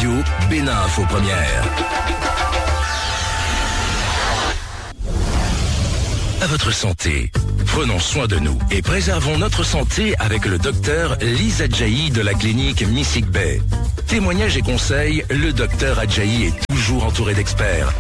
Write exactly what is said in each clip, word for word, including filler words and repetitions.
Radio Bénin Info Première. À votre santé. Prenons soin de nous et préservons notre santé avec le docteur Lise Adjaï de la clinique Missig Bay. Témoignages et conseils, le docteur Adjaï est toujours entouré d'experts.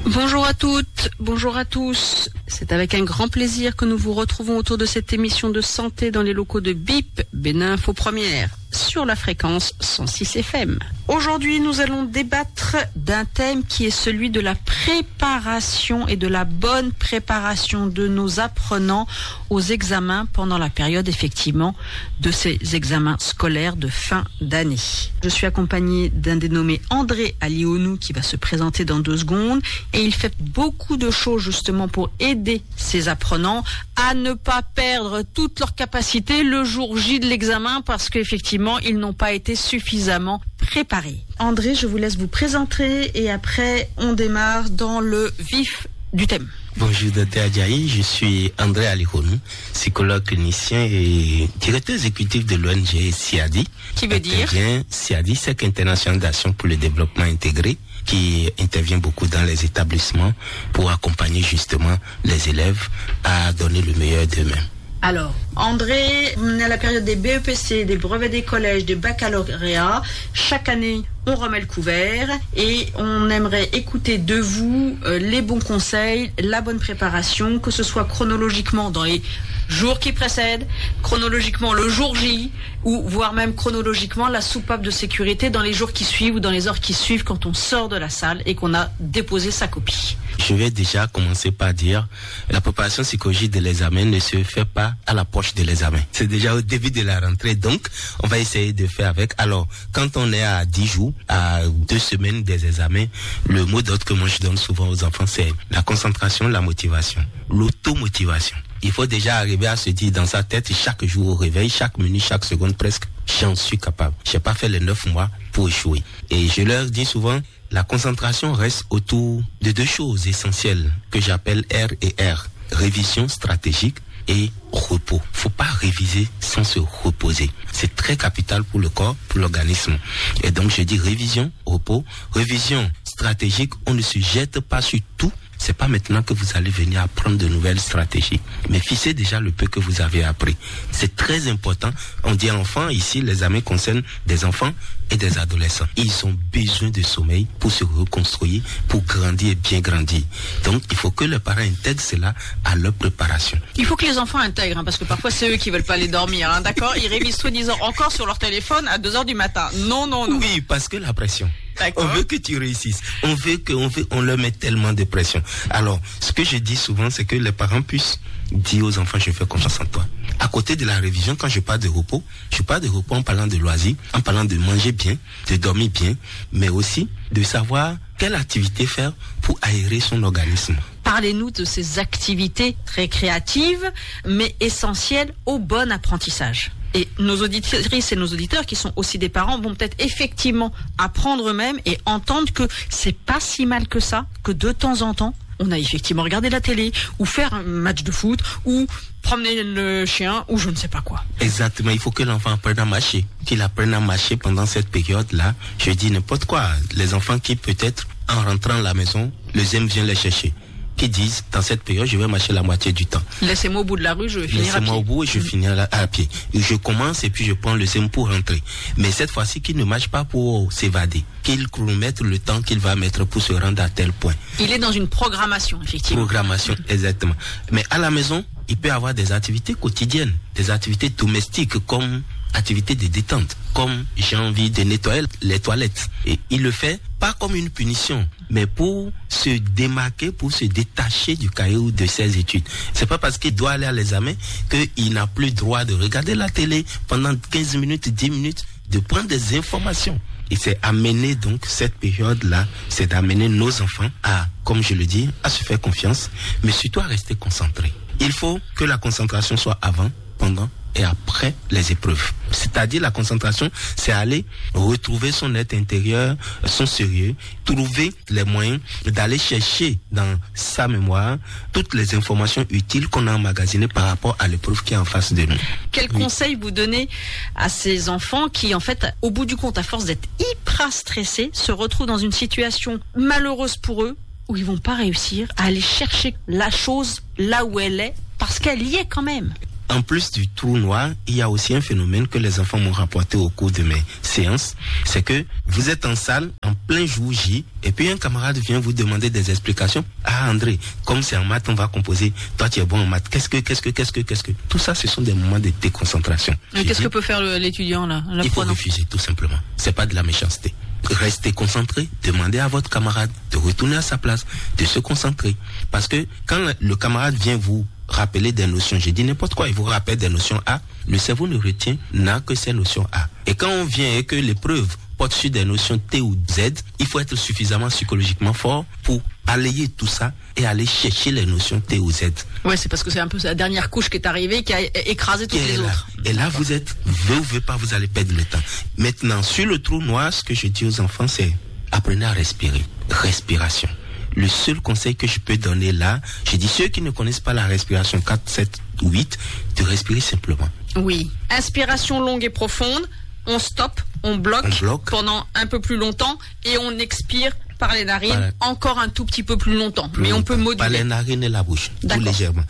Bonjour à toutes, bonjour à tous. C'est avec un grand plaisir que nous vous retrouvons autour de cette émission de santé dans les locaux de bip, Bénin Info Première, sur la fréquence cent six F M. Aujourd'hui, nous allons débattre d'un thème qui est celui de la préparation et de la bonne préparation de nos apprenants aux examens pendant la période, effectivement, de ces examens scolaires de fin d'année. Je suis accompagnée d'un dénommé André Alionou qui va se présenter dans deux secondes, et il fait beaucoup de choses justement pour aider ces apprenants à ne pas perdre toutes leurs capacités le jour J de l'examen, parce qu'effectivement, ils n'ont pas été suffisamment préparés. André, je vous laisse vous présenter et après, on démarre dans le vif du thème. Bonjour, docteur Adjaï. Je suis André Alihonu, psychologue clinicien et directeur exécutif de l'O N G SIADI. Qui veut dire ? Intervient, SIADI, Cercle International d'Action pour le Développement Intégré, qui intervient beaucoup dans les établissements pour accompagner justement les élèves à donner le meilleur d'eux-mêmes. Alors, André, on est à la période des B E P C, des brevets des collèges, des baccalauréats. Chaque année, on remet le couvert et on aimerait écouter de vous, euh, les bons conseils, la bonne préparation, que ce soit chronologiquement dans les jours qui précèdent, chronologiquement le jour J, ou voire même chronologiquement la soupape de sécurité dans les jours qui suivent ou dans les heures qui suivent quand on sort de la salle et qu'on a déposé sa copie. Je vais déjà commencer par dire, la préparation psychologique de l'examen ne se fait pas à l'approche de l'examen. C'est déjà au début de la rentrée, donc on va essayer de faire avec. Alors, quand on est à dix jours, à deux semaines des examens, le mot d'ordre que moi je donne souvent aux enfants, c'est la concentration, la motivation, l'automotivation. Il faut déjà arriver à se dire dans sa tête, chaque jour au réveil, chaque minute, chaque seconde presque, j'en suis capable. J'ai pas fait les neuf mois pour échouer. Et je leur dis souvent, la concentration reste autour de deux choses essentielles que j'appelle R et R, révision stratégique et repos. Faut pas réviser sans se reposer. C'est très capital pour le corps, pour l'organisme. Et donc, je dis révision, repos, révision stratégique, on ne se jette pas sur tout. C'est pas maintenant que vous allez venir apprendre de nouvelles stratégies. Mais fixez déjà le peu que vous avez appris. C'est très important. On dit enfants, ici, les examens concernent des enfants et des adolescents. Ils ont besoin de sommeil pour se reconstruire, pour grandir et bien grandir. Donc, il faut que les parents intègrent cela à leur préparation. Il faut que les enfants intègrent, hein, parce que parfois c'est eux qui veulent pas aller dormir, hein, d'accord ? Ils révisent soi-disant encore sur leur téléphone à deux heures du matin. Non, non, non. Oui, parce que la pression. D'accord. On veut que tu réussisses. On veut que, on veut, on leur met tellement de pression. Alors, ce que je dis souvent, c'est que les parents puissent dire aux enfants, je fais confiance en toi. À côté de la révision, quand je parle de repos, je parle de repos en parlant de loisirs, en parlant de manger bien, de dormir bien, mais aussi de savoir quelle activité faire pour aérer son organisme. Parlez-nous de ces activités récréatives, mais essentielles au bon apprentissage. Et nos auditrices et nos auditeurs, qui sont aussi des parents, vont peut-être effectivement apprendre eux-mêmes et entendre que c'est pas si mal que ça, que de temps en temps, on a effectivement regardé la télé, ou faire un match de foot, ou promener le chien, ou je ne sais pas quoi. Exactement, il faut que l'enfant apprenne à marcher, qu'il apprenne à marcher pendant cette période-là. Je dis n'importe quoi. Les enfants qui, peut-être, en rentrant à la maison, le zème vient les chercher, qui disent, dans cette période, je vais marcher la moitié du temps. Laissez-moi au bout de la rue, je vais finir à pied. Laissez-moi au bout et je finis à, la- à pied. Je commence et puis je prends le zème pour rentrer. Mais cette fois-ci, qu'il ne marche pas pour s'évader, qu'il chronomètre le temps qu'il va mettre pour se rendre à tel point. Il est dans une programmation, effectivement. Programmation, exactement. Mais à la maison, il peut avoir des activités quotidiennes, des activités domestiques comme activités de détente, comme j'ai envie de nettoyer les toilettes. Et il le fait pas comme une punition, mais pour se démarquer, pour se détacher du cahier ou de ses études. C'est pas parce qu'il doit aller à l'examen qu'il n'a plus droit de regarder la télé pendant quinze minutes, dix minutes, de prendre des informations. Et c'est amener donc cette période-là, c'est d'amener nos enfants à, comme je le dis, à se faire confiance, mais surtout à rester concentrés. Il faut que la concentration soit avant, pendant et après les épreuves. C'est-à-dire la concentration, c'est aller retrouver son être intérieur, son sérieux, trouver les moyens d'aller chercher dans sa mémoire toutes les informations utiles qu'on a emmagasinées par rapport à l'épreuve qui est en face de nous. Quel conseil vous donnez à ces enfants qui, en fait, au bout du compte, à force d'être hyper stressés, se retrouvent dans une situation malheureuse pour eux, où ils vont pas réussir à aller chercher la chose là où elle est, parce qu'elle y est quand même. En plus du trou noir, il y a aussi un phénomène que les enfants m'ont rapporté au cours de mes séances, c'est que vous êtes en salle en plein jour J, et puis un camarade vient vous demander des explications. Ah, André, comme c'est en maths, on va composer. Toi, tu es bon en maths. Qu'est-ce que, qu'est-ce que, qu'est-ce que, qu'est-ce que? Tout ça, ce sont des moments de déconcentration. Mais qu'est-ce que peut faire l'étudiant là? Il faut refuser, tout simplement. C'est pas de la méchanceté. Restez concentré, demandez à votre camarade de retourner à sa place, de se concentrer. Parce que quand le camarade vient vous rappeler des notions, je dis n'importe quoi, il vous rappelle des notions A, le cerveau ne retient, n'a que ces notions A. Et quand on vient et que l'épreuve porte sur des notions T ou Z, il faut être suffisamment psychologiquement fort pour balayer tout ça et aller chercher les notions T ou Z. Ouais, c'est parce que c'est un peu la dernière couche qui est arrivée, qui a écrasé toutes et les là, autres. Et là, vous êtes, veut ou veut pas, vous allez perdre le temps. Maintenant, sur le trou noir, ce que je dis aux enfants, c'est apprenez à respirer. Respiration. Le seul conseil que je peux donner là, je dis ceux qui ne connaissent pas la respiration quatre, sept, huit, de respirer simplement. Oui. Inspiration longue et profonde. On stop, on bloque, On bloque. Pendant un peu plus longtemps et on expire par les narines Voilà. Encore un tout petit peu plus longtemps. Plus Mais on longtemps. Peut moduler. Par les narines et la bouche, tout D'accord. Légèrement.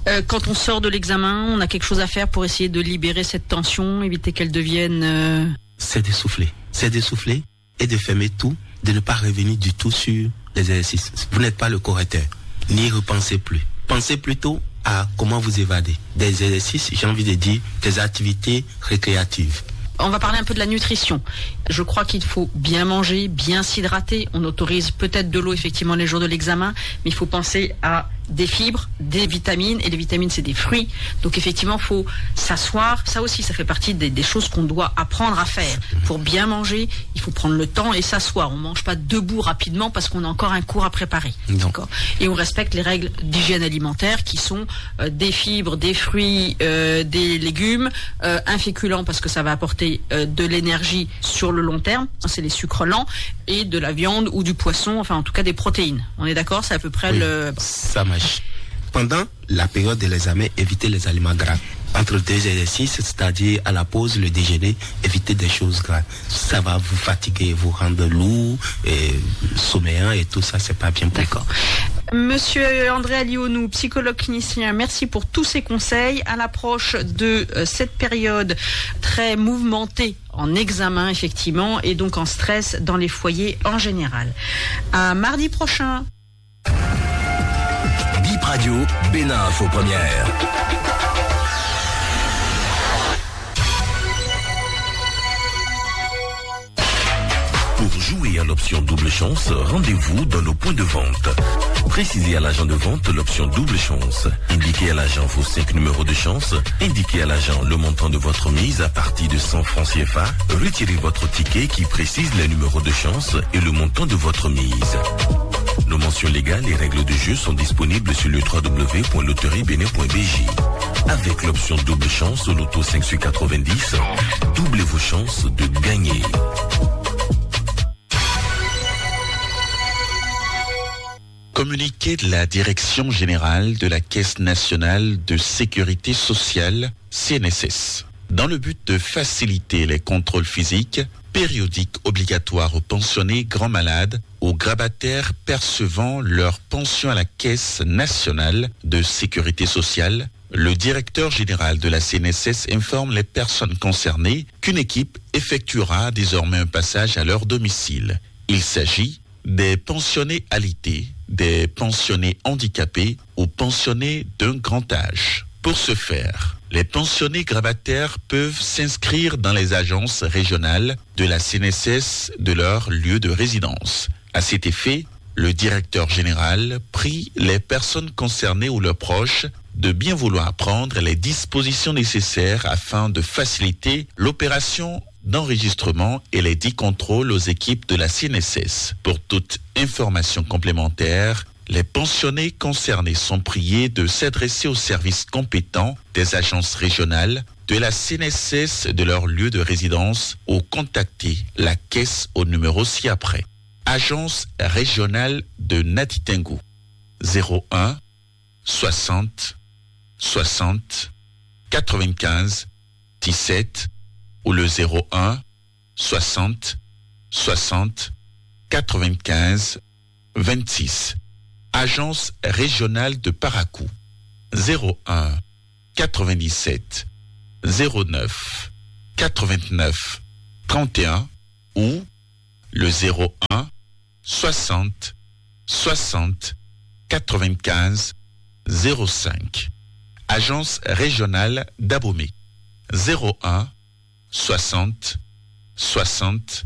Euh, quand on sort de l'examen, on a quelque chose à faire pour essayer de libérer cette tension, éviter qu'elle devienne. Euh... C'est de souffler. C'est de souffler et de fermer tout, de ne pas revenir du tout sur les exercices. Vous n'êtes pas le correcteur. N'y repensez plus. Pensez plutôt à comment vous évader. Des exercices, j'ai envie de dire, des activités récréatives. On va parler un peu de la nutrition. Je crois qu'il faut bien manger, bien s'hydrater. On autorise peut-être de l'eau effectivement les jours de l'examen, mais il faut penser à des fibres, des vitamines, et les vitamines c'est des fruits. Donc effectivement, il faut s'asseoir. Ça aussi, ça fait partie des, des choses qu'on doit apprendre à faire. Pour bien manger, il faut prendre le temps et s'asseoir. On ne mange pas debout rapidement parce qu'on a encore un cours à préparer. Non. D'accord. Et on respecte les règles d'hygiène alimentaire qui sont euh, des fibres, des fruits, euh, des légumes, euh, un féculent parce que ça va apporter euh, de l'énergie sur le long terme, c'est les sucres lents, et de la viande ou du poisson, enfin en tout cas des protéines. On est d'accord, c'est à peu près Oui, le. Ça marche. Pendant la période de l'examen, évitez les aliments gras. Entre deux exercices, c'est-à-dire à la pause, le déjeuner, évitez des choses gras. Ça va vous fatiguer, vous rendre lourd, et sommeillant et tout ça, c'est pas bien pour vous. D'accord. Monsieur André Alionou, psychologue clinicien, merci pour tous ces conseils. À l'approche de euh, cette période très mouvementée en examen, effectivement, et donc en stress dans les foyers en général. À mardi prochain. Bip Radio, Bénin Info Première. Pour jouer à l'option double chance, rendez-vous dans nos points de vente. Précisez à l'agent de vente l'option double chance. Indiquez à l'agent vos cinq numéros de chance. Indiquez à l'agent le montant de votre mise à partir de cent francs C F A. Retirez votre ticket qui précise les numéros de chance et le montant de votre mise. Nos mentions légales et règles de jeu sont disponibles sur le w w w point loterie bénin point b j. Avec l'option double chance au loto cinq sur quatre-vingt-dix, doublez vos chances de gagner. Communiqué de la Direction générale de la Caisse nationale de sécurité sociale, C N S S. Dans le but de faciliter les contrôles physiques, périodiques obligatoires aux pensionnés grands malades, aux grabataires percevant leur pension à la Caisse nationale de sécurité sociale, le directeur général de la C N S S informe les personnes concernées qu'une équipe effectuera désormais un passage à leur domicile. Il s'agit des pensionnés alité, des pensionnés handicapés ou pensionnés d'un grand âge. Pour ce faire, les pensionnés grabataires peuvent s'inscrire dans les agences régionales de la C N S S de leur lieu de résidence. À cet effet, le directeur général prie les personnes concernées ou leurs proches de bien vouloir prendre les dispositions nécessaires afin de faciliter l'opération d'enregistrement et les dix contrôles aux équipes de la C N S S. Pour toute information complémentaire, les pensionnés concernés sont priés de s'adresser aux services compétents des agences régionales de la C N S S de leur lieu de résidence ou contacter la caisse au numéro ci-après. Agence régionale de Natitengu, zéro un, soixante, soixante, quatre-vingt-quinze, dix-sept ou le zéro un, soixante, soixante, quatre-vingt-quinze, vingt-six. Agence régionale de Parakou, zéro un, quatre-vingt-dix-sept, zéro neuf, quatre-vingt-neuf, trente et un ou le zéro un, soixante, soixante, quatre-vingt-quinze, zéro cinq. Agence régionale d'Abomey, zéro un, soixante, soixante,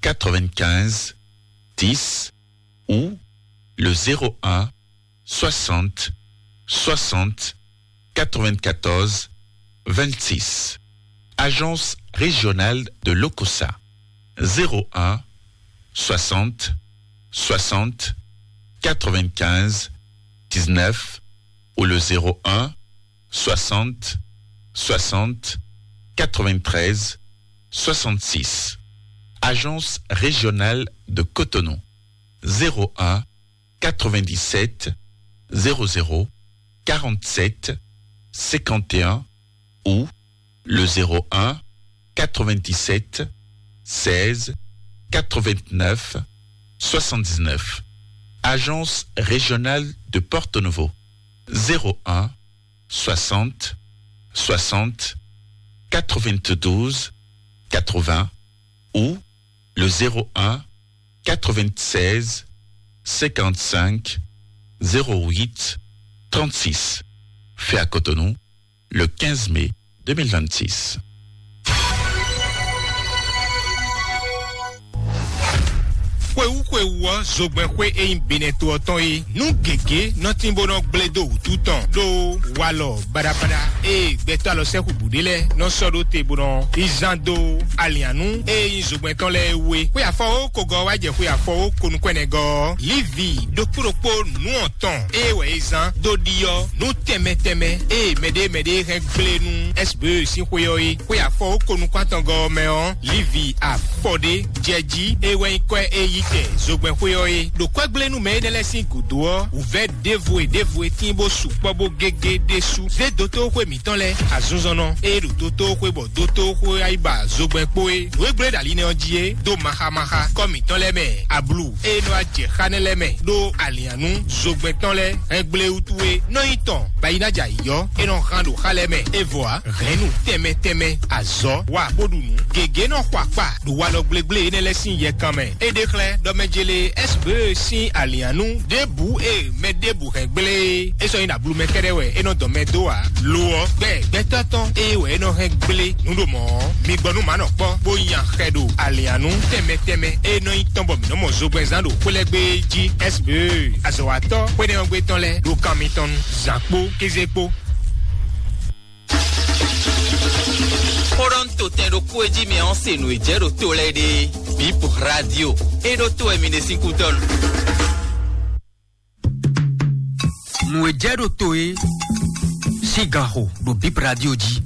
quatre-vingt-quinze, dix ou le zéro un, soixante, soixante, quatre-vingt-quatorze, vingt-six. Agence régionale de l'Okosa, zéro un, soixante, soixante, quatre-vingt-quinze, dix-neuf ou le zéro un, soixante, soixante, quatre-vingt-treize, soixante-six. Agence régionale de Cotonou, zéro un, quatre-vingt-dix-sept, zéro zéro, quarante-sept, cinquante et un ou le zéro un, quatre-vingt-dix-sept, seize, quatre-vingt-neuf, soixante-dix-neuf. Agence régionale de Porto Novo, zéro un, soixante, soixante, quatre-vingt-douze, quatre-vingts ou le zéro un, quatre-vingt-seize, cinquante-cinq, zéro huit, trente-six. Fait à Cotonou le quinze mai deux mille vingt-six. Xwewú xwewú ɔ́, zogbɛ́nxwé e nyí Benɛto ɔ́ tɔn é, nú gěgé nɔ tín bó nɔ gblé dó wǔtu tɔn ɖó walɔ baɖabaɖa e gbɛtɔ́ alɔ sɛ́xu bǔ ɖé lɛ́ɛ nɔ sɔ́ ɖó te bó nɔ yi zán dó alǐannú e nyí zogbɛ́n tɔn lɛ́ɛ é wú é. Xwe afɔwókogɔ́ wá jɛ xwe afɔwókonukɔ́nɛgɔ́ ɔ́, Livi ɖokpó ɖokpó nǔ ɔ́ tɔn ée wɛ é zán dó ɖiɔ́ nú tɛnmɛ tɛnmɛ eye mɛɖé mɛɖé hɛn gblé nú S B E sín xwé ɔ́ é. Xwe afɔwókonukɔ́ntɔngɔ́ ɔ́ mɛ ɔ́, Livi afɔ ɖé jɛ jí é wɛ nyí kwɛ́ e yí kɛ zogbɛ́nxwé ɔ́ é. Ɖo kwɛ́gblénúmɛ énɛ́ lɛ́ɛ sín gǔdo ɔ́, wǔvɛ́ ɖěvo e ɖěvo e tíin bó sukpɔ́ bó gégé ɖésú zé dotóxwé mǐtɔn lɛ́ɛ. Azinzɔnnɔ e ɖo dotóxwé bɔ dotóxwé wá yi ba zogbɛ́n kpó é, nǔ e gblé ɖo ali nɛ́ ɔ́ jí é dó maxámaxá kɔ́ mǐtɔn lɛ́ɛ mɛ. Ablu e nɔ wá jɛ xá nɛ́ lɛ́ɛ mɛ ɖó alǐannú zogbɛ́n tɔn lɛ́ɛ hɛn gblé wútu é nɔ nyí tɔn, bɔ ayi ná jɛ ayǐ ɔ́, é nɔ hán ɖo xá lɛ́ɛ mɛ. É vɔ ǎ, hɛ̌nnu tɛnmɛ tɛnmɛ, azɔ̌ wa bó ɖu nǔ. Gěgé nɔ xɔ akpa ɖo walɔ gblégblé énɛ́ lɛ́ɛ sín yɛkan mɛ. É ɖe xlɛ́ ɖɔ mɛ jélé S B E sín alǐannú ɖěbǔ e mɛ ɖěbǔ hɛn gblé é, é sɔ́ nyí ɖo ablu mɛ kɛ́ɖɛ́ wɛ é nɔ dɔn mɛ dó ǎ. Lo ɔ́, gbɛ́ gbɛtɔ́ tɔn ée wɛ é nɔ hɛn gblé nǔ ɖo mɔ̌ ɔ́, mi gbɔ nú mǎ nɔ kpɔ́, bó nya xɛ ɖo alǐannú tɛnmɛ tɛnmɛ e nɔ nyí tɔn bɔ mǐ nɔ mɔ zogbɛ́nzán ɖo xwé lɛ́ɛ gbé jí. S B E azɔ̌watɔ́ xwénɛ́ ɔ́ gbé tɔn lɛ́ɛ ɖo kan mitɔn nú zǎn kpó kéze kpó. Xó ɖɔ un to tɛn ɖokpó e jí mɛ ɔ́ se nǔ e jɛ ɖo to lɛ́ɛ ɖe. Bip Radio e ɖó to wɛ mi ɖe sín kútɔ́ nu. Nǔ e jɛ ɖo to e sín gan xo ɖo Bip Radio jí.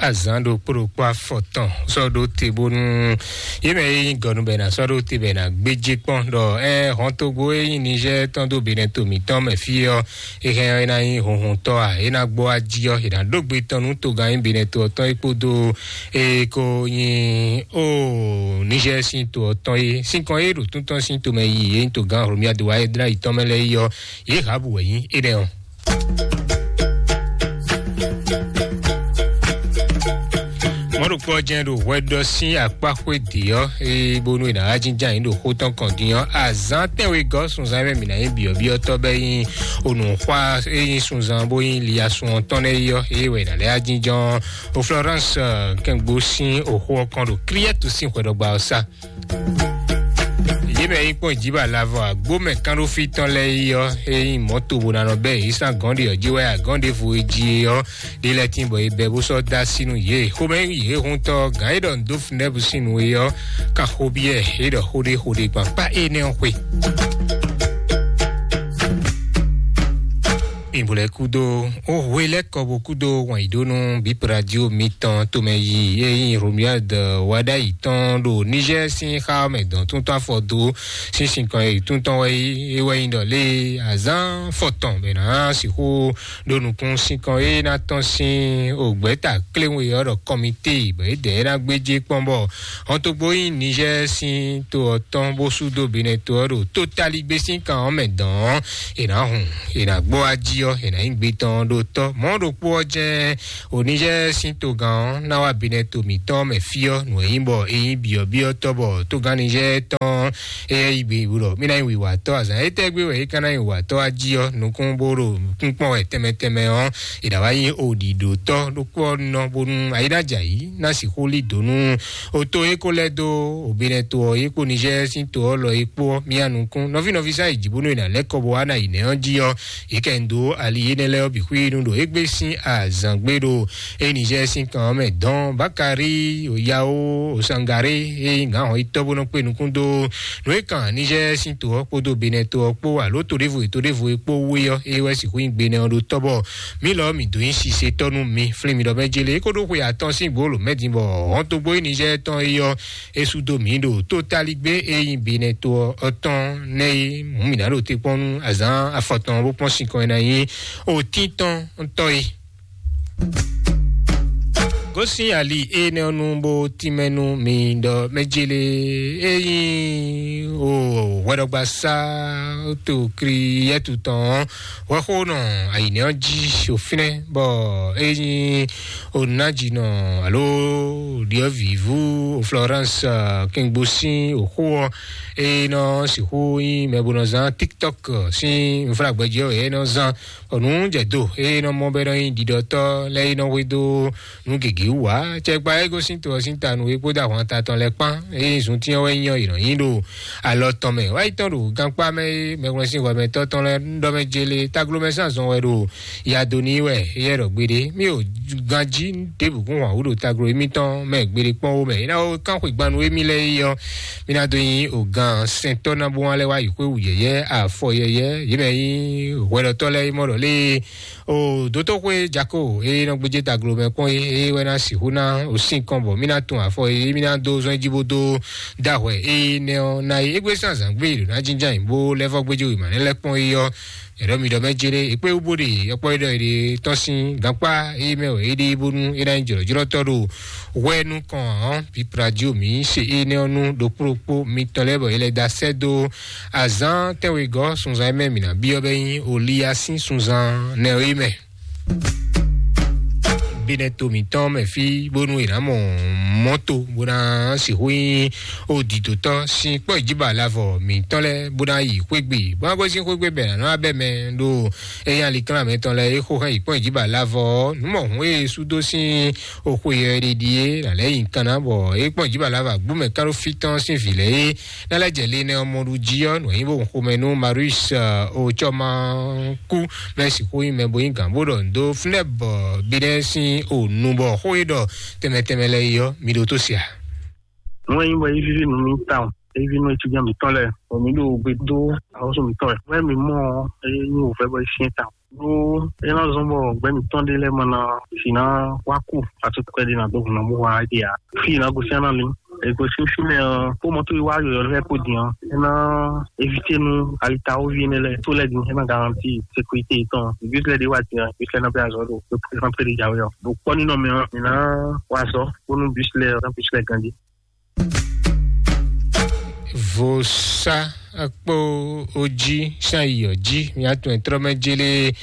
Azǎn ɖokpó ɖokpó afɔtɔn sɔ́ ɖó te bónú yě mɛ e nyí gɔnu bɛ ná sɔ́ ɖó te bɛ ná gbéjé kpɔ́n ɖɔ ɛ hɔntogbo e nyí Niger tɔn dó Benin to mǐtɔn mɛ fí ɔ́, é hɛn ɔ́, é ná nyí hunhuntɔ́ a? É ná gbɔ ají ɔ́, è nǎ ɖó gbe tɔn nú togán nyí Benin to ɔ́ tɔn é kpódó e ko nyí o Niger sín to ɔ́ tɔn é. Sín kɔn é ɖo tún tɔn sín tomɛ yi é nyí togán Hlomia do wa é dlá yi tɔn mɛ lɛ́ɛ yi ɔ́, yě hǎ bǔ wɛ nyí énɛ́ ɔ́. Mɔ̌ ɖokpó ɔ́ jɛ́n ɖo hwɛ ɖɔ sín akpá xwé dě ɔ́, ée bónú è nǎ wá jínjɔ́n ayǐ ɖo xó tɔn kɔn din ɔ́, azǎn tɛ́nwegɔ́ sunzán e mɛ mǐ ná nyí byɔ̌byɔ́tɔ́ bɔ é nyí onǔxwá e nyí sunzán bó nyí liasun ɔ́ tɔn lɛ́ɛ é ɔ́, ée wɛ è nǎ lɛ́ wá jínjɔ́n o Florence kɛngbó sín oxó ɔ́ kɔn ɖo Kriɛ́tu sín hwɛɖɔgba ɔ́ sá. Yě mɛ e nyí kpɔ́n jǐ bɔ alavɔ agbómɛ kánɖófí tɔn lɛ́ɛ yi ɔ́, é nyí mɔ̌ tobo ná nɔ bɛ́ yě sín agɔ̌n ɖe ɔ́ jí wɛ agɔ̌n ɖěvo e jí é ɔ́, ɖé lɛ́ɛ tíin bɔ è bɛ́ bó sɔ́ dó así nú yě. Xomɛ yě huntɔ́ gǎn e ɖɔ nǔ dó nɛ́busínu é ɔ́, kan xó byɔ́ ɛ, é ɖɔ xó ɖé xó ɖé gban kpá énɛ́ ɔ́ xwe. Bwlɛ kúdó ó hwe lɛ́ kɔ bó kúdó wǎn yí ɖó nú bíp radio mitɔn tomɛ yi e nyí Romuald Wadayi tɔn ɖo Niger sín xá mɛ dɔn tún tɔn afɔ dó sín sinkɔn e tún tɔn wɛ é wɛ nyí ɖɔ lé azán fɔtɔn bɛ ná sixú ɖó nukún sinkɔn e ná tɔn sín ògbɛ́ta kléwé ɔ́ ɖɔ kɔmité bɔ é dɛ é ná gbéjé kpɔ́n bɔ hɔntogbo nyí Niger sín to ɔ́ tɔn bó sú dó Benin to ɔ́ ɖo tótálígbé sín kan ɔ́ mɛ dɔn ɔ́, è nǎ hun, è nǎ gbɔ ají ɔ́, è nǎ nyí gbe tɔn ɖó tɔ́. Mɔ̌ ɖokpó ɔ́ jɛ́n Onizɛ́ɛ sín togán ɔ́ ná wá Benɛto mǐtɔn mɛ fí ɔ́, nǔ e nyí bɔ é nyí byɔ̌byɔ́tɔ́ bɔ togán Nizɛ́ɛ tɔn é yɛ yi gbe wú ɖɔ mí ná nyí wǐwatɔ́ azǎn étɛ́ gbe wɛ é ka ná nyí wǐwatɔ́ ají ɔ́, nukún bó ɖo kúnkpɔ́n wɛ tɛnmɛ tɛnmɛ ɔ́, è nǎ wá nyí oɖiɖotɔ́ ɖokpó ɔ́ nɔ bónú ayí ná jɛ ayǐ ná sixú lí dǒ nú o to e ko lɛ́ dó Benɛto ɔ́, é kpó Nizɛ́ɛ sín to ɔ́ lɔ é kpó ɔ́, mía nukún nɔví nɔví sá yi jǐ bónú è nǎ lɛ́ kɔ bó wá ná yi nɛ̌ ɔ́ jí ɔ́, yě kɛ ń dó ali énɛ́ lɛ́ɛ ɔ́ bǐ xwínu ɖo égbé sín azǎngbe ɖo Enizɛ́ɛ sín kan ɔ́ mɛ dɔn Bakari Oyao Osangare e nyí gǎn hɔn yítɔ́ bó nɔ kpé nukún dó nǔ e kan Nizɛ́ɛ sín to ɔ́ kpódó Benɛto ɔ́ kpó alo to ɖěvo e to ɖěvo e kpó wú é ɔ́, é wɛ sixú nyí gbe nɛ ɔ́ ɖó tɔ́ bɔ mǐ lɔ mǐ dó nyí sise tɔ́ nú mi. Flín mi ɖɔ mɛ jélé é ko ɖó xwe atɔn sín gbǒ lǒ mɛ din bɔ hɔntogbó Enizɛ́ɛ tɔn é ɔ́ é sú dó mǐ ɖo tótálígbé e nyí Benɛto ɔ́ tɔn nɛ́ é mǔ mǐ ná ɖo te kpɔ́n nú azǎn afɔtɔn bó kpɔ́n sinkɔn e ná nyí òtín tɔn tɔ́ é. Gosín ali énɛ́ ɔ́ nu bó tínmɛ nú mi ɖɔ mɛ jélé é nyí o hwɛɖɔgbasá to kri yɛtu tɔn ɔ́, hwɛxónɔ ayǐnɛ́ ɔ́ jí sofínɛ bɔ é nyí onajinɔ alo ɖiɔvǐvú Florence Kingbo sín òxó ɔ́, é nɔ sixú nyí mɛ bó nɔ zán TikTok sín nfúlagbɛjɛ ɔ́ é nɔ zán bɔ nǔ jɛ do eye nɔ mɔ bɛ nɔ nyi ɖiɖɔtɔ́ lɛ́ɛ e nɔ hwedó nǔ gěgé wú ǎ. Cɛkpa e gosín to ɔ́ sín ta nú é kpódó ahwan ta tɔn lɛ́ɛ kpán eye zuntín ɔ́ wɛ nyí ɔ́, è nɔ nyi ɖo alɔ tɔn mɛ wá yi tɔn ɖo gankpá mɛ e mɛhwlɛ́n sín hwɛmɛtɔ́ tɔn lɛ́ɛ ɖɔ mɛ jélé taglomɛ sín azɔn wɛ ɖo ya dó n'i wɛ éyɛ́ ɖɔ gbeɖé. Mí o ganjí ɖěbǔ kún hwan wú ɖo taglo émítɔn mɛ gbeɖé kpɔ́n wó mɛ é ná wó kán xwegbannu émí lɛ́ɛ é ɔ́, mí ná dó nyí ògán sɛntɔ́ ná bó wá lɛ́ wá yi xwé wǔ yɛyɛ́ afɔ yɛyɛ́ yě mɛ nyí hwɛɖɔtɔ́ lɛ́ɛ é mɔ ɖɔ lé o dótóxwé jako e nɔ gbéjé taglo mɛ kpɔ́n é é wɛ ná sixú ná o sín kɔn bɔ mí ná tun afɔ é mí ná dó zɔn jí bó dó dá hwɛ é nɛ ɔ́ ná é égbé sín azǎn gbé ɖo ná jínján bó lɛ́ vɔ́ gbéjé wěma nɛ́ lɛ́ kpɔ́n é ɔ́. Yɛɖɔ mi ɖɔ mɛ jere ekpe wú bó ɖe yɔkpɔ ɖɔ ɖe tɔn sín gankpá é mɛ wɛ é ɖe bónú é ná nyí jlɔ̌jlɔ́tɔ́ ɖo hwɛ nukɔn ɔ́. Pipradio mi se énɛ́ ɔ́ nú ɖokpó ɖokpó mitɔn lɛ́ɛ bɔ é lɛ́ da sɛ́ dó azǎn tɛ́nwegɔ́ sunzan e mɛ mǐ ná byɔ́ bɛ nyí Oliya sín sunzan nɛ é mɛ. Binɛ to mǐtɔn mɛ fí bónú è nǎ mɔ mɔto bó ná sixú nyí o didotɔ sín kpɔ́ ìjíba lavɔ mǐtɔn lɛ́ɛ bó ná yi xwégbe bó ná gosín xwégbe bɛ nǎ nɔ abɛ mɛ ɖo eye aliklán mɛtɔn lɛ́ɛ é xó hɛn yi kpɔ́n ìjíba lavɔ nǔ mɔ hǔn e sú dó sín oxwe yɔ ɖiɖi é nǎ lɛ́ yi nukán ná bɔ é kpɔ́n ìjíba lavɔ agbú mɛ kán ɖó fí tɔn sín vǐ lɛ́ɛ é ná lɛ́ jɛ le nɛ ɔmɔ ɖu jí ɔ́ nǔ e nyí bó xomɛ nú Marius Ocɔma kú mɛ sixú nyí mɛ bo nyí gǎn bó ɖɔ ndo fúnɛ́ bɔ binɛ sín o nu bɔ xó e ɖɔ tɛmɛ tɛmɛ lɛ yi ɔ́ mi ɖo tó sia. Nú e nyí bɔ é víví nú mì tawun, é víví nú etíjá mǐtɔn lɛ́ɛ, bɔ mǐ ɖo gbe dó ahɔ́sú mǐtɔn wɛ. Nú e mǐ mɔ ɔ́, é nyí wǔvɛ́ bɔ é syɛ́n tawun. Ɖó é ná zɔ́n bɔ gbɛ́ mǐtɔn ɖé lɛ́ɛ ma ná si ná wá kú, atukpɛ́ ɖé ná dó hun ná mú wá ɖe ǎ. Fí e ná gosín ná lin. Ègosín fínɛ́ ɔ́, kó mɔ̌ tó yi wá yɔ̌yɔ́ lɛ́ɛ kó din ɔ́, é ná évité nú alitawoví énɛ́ lɛ́ɛ tó lɛ́ɛ din, é ná garanti sékurité tɔn. Bísí lɛ́ɛ ɖé wá din ɔ́, bísí lɛ́ɛ ná bɛ́ azɔ̌ ɖo pé ná pé ɖé jǎwe ɔ́. Ɖo kpɔ́ nínɔ mɛ ɔ́, mǐ ná wá azɔ̌ bónú bísí lɛ́ɛ ɔ́, ná bísí lɛ́ɛ ganjí. Vosa kpó ojí sán iyɔ jí mía tún ɛ trɔ́ mɛ jélé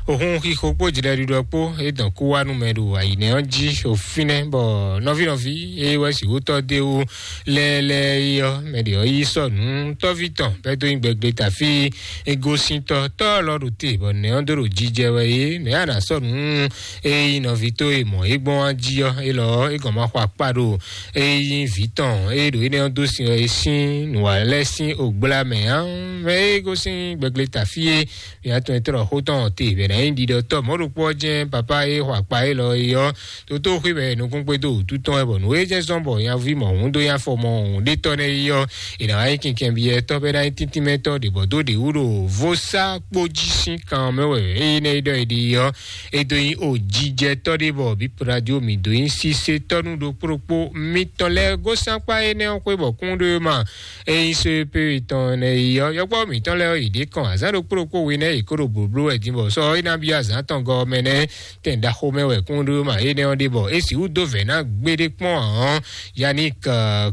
ohun xixo kpó jlɛɖiɖɔ kpó é dɔn kú wá nú mɛ ɖo ayǐnɛ ɔ́ jí ofínɛ́ bɔ nɔví nɔví é wɛ sixú tɔ́ dó é wú lɛ́lɛ́ é ɔ́ mɛ ɖě ɔ́ yí sɔ nǔ tɔ́ví tɔn bɛ́ dó nyí gbɛgbɛ tafí égosíntɔ́ tɔ́ lɔ ɖo te bɔ nɛ̌ ɔ́ dó ɖo jijɛ wɛ é nɛ̌ a nǎ sɔ nǔ é nyí nɔví tó e mɔ̌ é gbɔn wá jí ɔ́ élɔ́ é gɔn ma xɔ akpá ɖo é nyí vǐ tɔn é ɖo énɛ́ ɔ́ dó sin ɔ́ é sín nǔwalɛ́ sín ògbla mɛ ǎ mɛ é gosín gbɛgbɛ tafí é mǐ atɔn e tlɔ xó tɔn te bɛ̌ ná Nyí ɖiɖɔtɔ́ mɔ̌ ɖokpó ɔ́ jɛ́n papa e xɔ akpa élɔ́ é ɔ́, toto xwé mɛ nukúnxwédo wǔtu tɔn wɛ, bɔ nǔ e jɛ́n zɔ́n bɔ nyaví mɔ̌hun dó nyi afɔ mɔ̌hun ɖé tɔ́ nɛ́ é ɔ́, è nǎ wá nyí kinkɛnbyɔ́tɔ́ bɔ é ná nyí tíntímɛtɔ́ ɖě bɔ dó ɖě wú ɖo vodúnsaxwé jí sín kan mɛ wɛ énɛ́ e ɖɔ è ɖe é ɔ́, é dó nyí ojijɛtɔ́ ɖé bɔ bǐ radio mǐ dó nyí sisetɔ́ nú ɖokpó ɖokpó mitɔn lɛ́ɛ. Gósɛ́n akpá énɛ́ ɔ́ xwé bɔ kún ɖó é ma. Ényí só e pé tɔn nɛ yi ɔ́, yɔkpɔ́ mǐtɔn lɛ́ɛ ɔ́, yě ɖě kɔn azǎn ɖokpó ɖokpó we nɛ́ yě kó ɖo blǒbló wɛ din, bɔ sɔ́ é ná byɔ́ azǎn tɔn gɔ́ mɛ nɛ́ tɛn ɖaxó mɛ wɛ kún ɖó ma énɛ́ ɔ́ ɖe, bɔ é sixú dó vɛ̌ ná gbéɖé kpɔ́n ǎ ɔ́, Yannick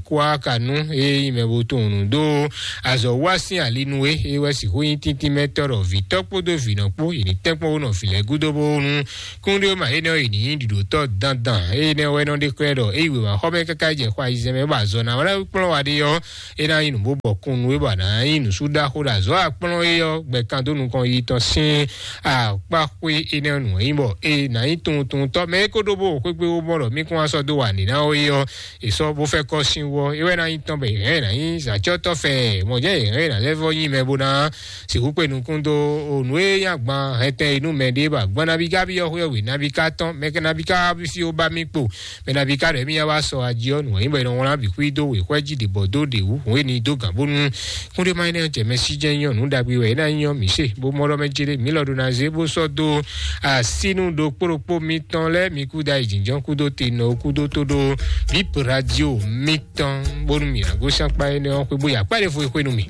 Kouakanu e nyí mɛ bo tunwun nǔ dó azɔ̌ wa sín ali nú é, é wɛ sixú nyí tíntímɛtɔ́ ɖɔ vǐtɔ́ kpódó vǐnɔ kpó, yě ní tɛ́nkpɔ́n wó nɔ vǐ lɛ́ɛ gúdo bónú kúnɖéwéma énɛ́ ɔ́, yě ní nyí ɖiɖǒtɔ́ dandan. Énɛ́ wɛ nɔ ɖe xlɛ́ ɖɔ é yi wěma xɔ mɛ káká jɛ xɔ ayizɛ́n mɛ bɔ azɔ̌ ná wá kplɔ́n wa ɖe ɔ́, é ná nyí nǔ bó bɔ kún nú é bɔ a nǎ nyí nǔsúɖaxó ɖo azɔ̌ akplɔ́n é ɔ́ gbɛ kan dó nukɔn yi tɔn sín akpáxwé énɛ́ nǔ nyí bɔ é ná nyí tunwuntunwuntɔ́ mɛ é ko ɖó bó xwégbé wó mɔ ɖɔ mí kún wá sɔ́ dó wa nǐ ná ó é ɔ́, è sɔ́ bó fɛ́ kɔ́ sín wú ɔ́, é wɛ ná nyí tɔn bɔ è hɛn ɛ ná nyí zǎcɔ́tɔ́ fɛɛ mɔ̌ jɛ́n è hɛn è nǎ lɛ́ vɔ́ nyí mɛ bó ná sixú kpe nukún dó o nǔ e nyí agban hɛntɛn e nú mɛ ɖé bɔ agban nabí ká byɔ́ xwé ɔ́ wě nabí ká tɔn mɛ ká nabí ká fí ó bá mì kpo mɛ nabí ká ɖɔ émí wá sɔ ají ɔ́ nǔ wɛ nyí bɔ è nɔ wlán bǐ xwí dó wěxwɛ́ jí ɖě bɔ dó ɖě wú hǔn e ní dó gǎn bónú kúnɖéma énɛ́ jɛ mɛ sí jɛ́n nyí ɔ́ nǔ ɖagbe wɛ é ná nyí ɔ́ mǐ se bó mɔ ɖɔ mɛ jélé mǐ lɔ ɖó ná zé bó sɔ́ dó asínú ɖokpó ɖokpó mitɔn lɛ́ɛ mi kú da yi jǐnjɔ́n kúdó te nɔ kúdó tó ɖó bíp radio mitɔn bónú mǐ ná gosín akpá énɛ́ ɔ́ xwé bó yi akpá ɖé fo e xwé nú mì.